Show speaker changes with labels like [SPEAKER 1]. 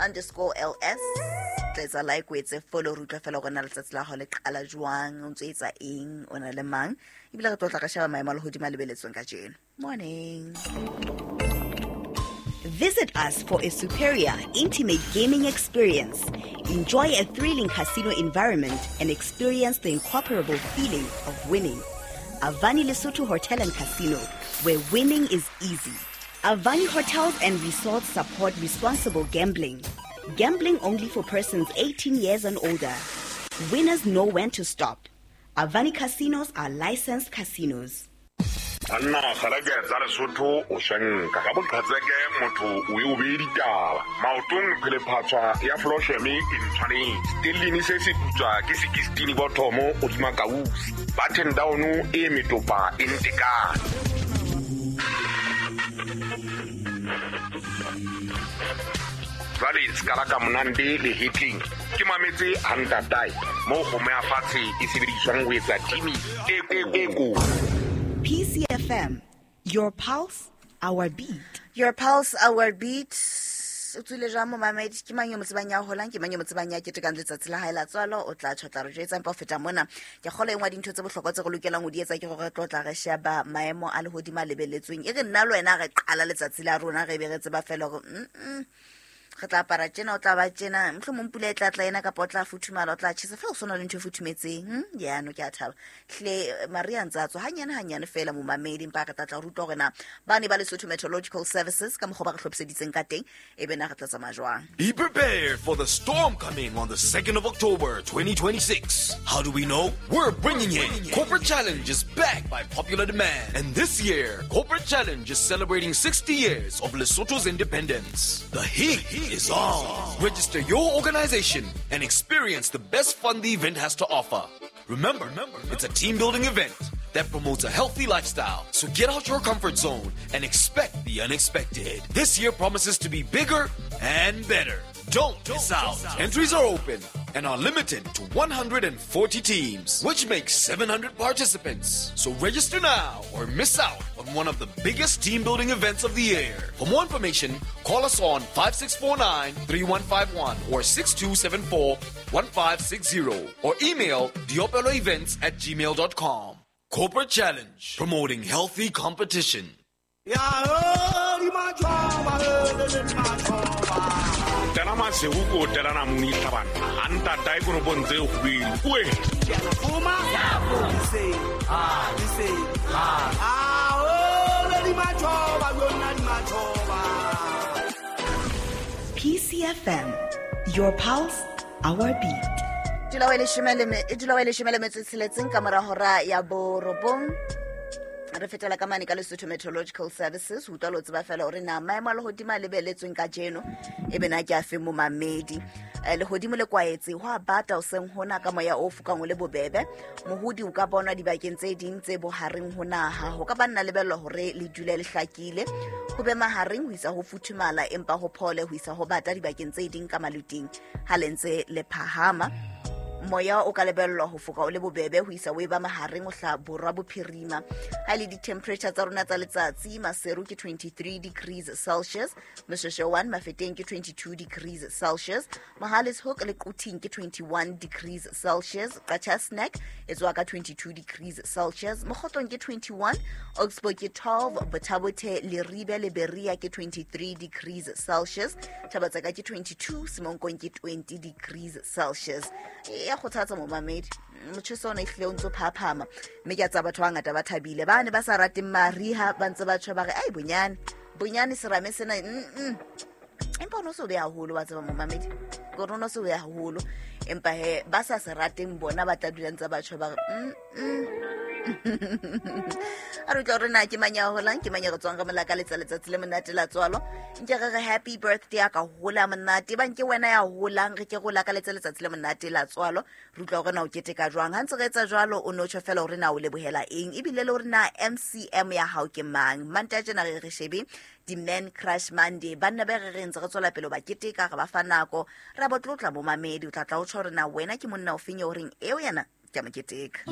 [SPEAKER 1] underscore ls. Tla etsa like, o etse follow, re utlwa fela gore na letsatsi la gago le qala jwang, o ntse o etsa eng, o na le mang, ebile re tlo tla re sheba maemo a lehodimo a lebeletsweng kajeno. Morning.
[SPEAKER 2] Visit us for a superior, intimate gaming experience. Enjoy a thrilling casino environment and experience the incomparable feeling of winning. Avani Lesotho Hotel and Casino, where winning is easy. Avani Hotels and Resorts support responsible gambling. Gambling only for persons 18 years and older. Winners know when to stop. Avani Casinos are licensed casinos.
[SPEAKER 3] Banna kgalake tsa Lesotho o swenka ka boqhetseke motho o e o bee ditaba maotong phelephatshwa ya flosheme e ntshwanetse stellini se se putswa ke sekistini bothomo godima kausi button down e metopa e ntekane. Jwale sekala ka monande le hetleng ke mametse hantatae moo kgomo ya fatshe e sebediswang ho etsa timi e ko.
[SPEAKER 2] PCFM, your pulse, our beat.
[SPEAKER 1] Your pulse, our beat. O tswile jwang momamedi? Ke mang yo mo tsebang ya holang? Ke mang yo mo tsebang ya ketekang letsatsi la hae la tswalo? O tla tjho, tla re jwetsa. Empa ho feta mona, ke kgolwa e nngwe ya dintho tse bohlokwa tse re lokelang ho di etsa ke hore re tlo tla re sheba maemo a lehodimo a lebeletsweng. E re nna le wena re qala letsatsi la rona, re be re tseba fela hore, re tla apara tjena, o tla ba tjena, mohlomong pula e tla tla ena, kapa o tla futhumala, o tla tjhesa, fela o sona le ntho e futhumetseng. Yano ke a thaba. Hle, Maria ntse a tswa hanyane hanyane fela momamedi, empa re tla tla rutwa hore na ba ne ba Lesotho Meteorological Services ka mokgwa ba re hlophiseditseng ka teng, e be na re tla tsamaya jwang.
[SPEAKER 4] Be prepared for the storm coming on the 2nd of October 2026. How do we know? We're bringing it. Corporate Challenge is back by popular demand. And this year, Corporate Challenge is celebrating 60 years of Lesotho's independence. The heat is on. Register your organization and experience the best fun the event has to offer. Remember, it's a team-building event that promotes a healthy lifestyle. So get out your comfort zone and expect the unexpected. This year promises to be bigger and better. Don't miss out. Entries are open and are limited to 140 teams, which makes 700 participants. So register now or miss out on one of the biggest team-building events of the year. For more information, call us on 5649-3151 or 6274-1560 or email diopeloevents@gmail.com. Corporate Challenge, promoting healthy competition.
[SPEAKER 3] Tela masego ko tela namune tlhabana. A ntatae konopong tse kgubedu. Oe.
[SPEAKER 2] PCFM, your pulse, our beat.
[SPEAKER 1] Dula wa leshome le me-, dula wa leshome le metso e tsheletseng ka mora hora ya borobong. Re fetela ka mane ka Lesotho Meteorological Services, ho utlwa le ho tseba fela hore na maemo a lehodimo a lebeletsweng kajeno e be na ke afe momamedi. Lehodimo le kwaetse, ho a bata hoseng hona ka moya o fokang o le bobebe. Mohodi o ka bonwa dibakeng tse ding tse bohareng ho naha. Ho ka ba nna lebellwa hore le dule le hlakile. Ho be mahareng ho isa ho futhumala, empa ho phole ho isa ho bata dibakeng tse ding ka maluting ha le ntse le phahama. Moya o ka lebellwa ho foka o le bobebe ho isa o eba mahareng ho hla borwa bophirima. Ha le di-temperature tsa rona tsa letsatsi, Maseru ke 23 degrees Celsius, Moshoeshoe 1 Mafeteng ke 22 degrees Celsius, Mohale's Hoek le Quthing ke 21 degrees Celsius, Qacha's Nek e tswa ka 22 degrees Celsius, Mokhotlong ke 21, Oxbow ke 12, Botha-Bothe, Leribe le Berea ke 23 degrees Celsius, Thabatseka ke 22, Semonkong ke 20 degrees Celsius. E ya kgothatsa momamedi, motjheso ona ehlile o ntso phaphama, mme ke a tseba batho ba bangata ba thabile, ba ne ba sa rateng mariha ba ntse ba tjho ba re, ai, bonyane, bonyane serame sena, Empa o no se o be haholo, wa tseba momamedi, ke hore o no se o be haholo, empa he, ba sa se rateng bona ba tla dula ntse ba tjho ba re, A re utlwa hore na ke mang ya holang, ke mang ya re tswang re molaka letsa letsatsi le monate la tswalo. Nke re re happy birthday a ka hola monate, ba nke wena ya holang, re ke re o lakaletse letsatsi le monate la tswalo. Re utlwa hore na o keteka jwang. Ha ntse re etsa jwalo, o no tjho fela hore na o lebohela eng, ebile le hore na MCM ya hao ke mang. Mantaha tjena re re shebe di-Man Crush Monday, banna ba re re ntse re tswela pele ho ba keteka, re ba fa nako, ra bo tlotla bo mamedi. O tla tla o tjho hore na wena ke monna o feng eo reng eo yena ke a mo keteka.